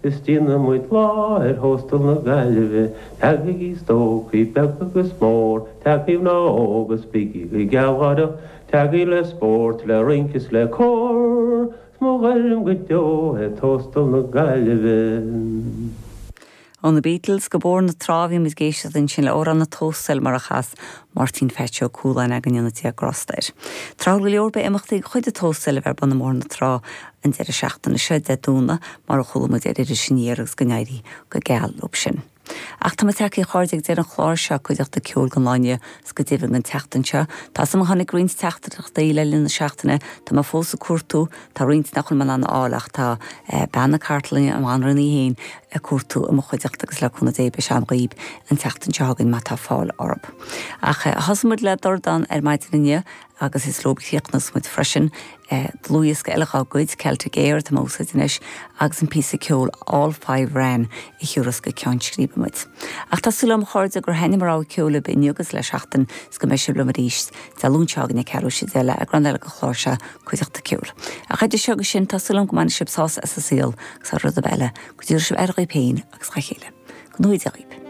Is déanfaidh muid lá ar Thóstal na Gaillimhe, Tagaigí stócaigh beag agus mór, Tagaigí mná óga 's bígí go gealgháireach, Tagaigí le spórt, le rince is le cór, 'S mo ghairm go deo é Tóstal na Gaillimhe. Ó na Beatles go Bóthar na Trá a bhí muid ag éisteacht ansin le Amhrán an Tóstail mar a chas Máirtín Pheaits Ó Cualáin againn go ndéana Dia grásta air. Tráthúil go leor beidh imeachtaí de chuid an Tóstail a bheith ar bun i mBóthar na Trá an deireadh seachtaine seo, Dé Domhnaigh, mar a chuala muid ar Iris Aniar agus go n-éirí go geal leo sin. Ach tá muid tagtha a chairde ag deireadh an chláir seo, Cuideachta Ceoil don lá inniu 's go deimhin don tseachtain seo. Tá 's agam tháinig roinnt teachtaireachtaí le linn na seachtaine, tá mé fós ag cuartú, tá roinnt nach bhfuil mé in ann a fháil ach tá bean na cartlainne, an bhanríon í féin, ag cuartú i mo chuideachta agus le cúnamh Dé beidh sé agam dhaoib an tseachtain seo chugainn má tá fáil orthu. Ach thosaigh muid le Dordán ar maidin inniu agus is leo a chríochnós muid freisin. Dlúthdhiosca eile dhá gcuid, Celtic Air atá mé a úsáid anois agus an píosa ceoil All Five Wren a thiúrfas go ceann scríbe muid. Ach tá súil agam a chairde gur thaitnigh mo rogha ceoil libh inniu agus le seachtain is go mbeidh sibh liom arís Dé Luain seo chugainn ag ceathrú tar éis 10 le eagrán eile den chlár seo, Cuideachta Ceoil. Ach idir seo agus sin, tá súil agam go mbainfidh sibh sásamh as an saol agus thar rud ar bith eile, go dtabharfaidh sibh aire dhaoib féin agus dhá chéile. Go ngnóthaí Dia dhaoib.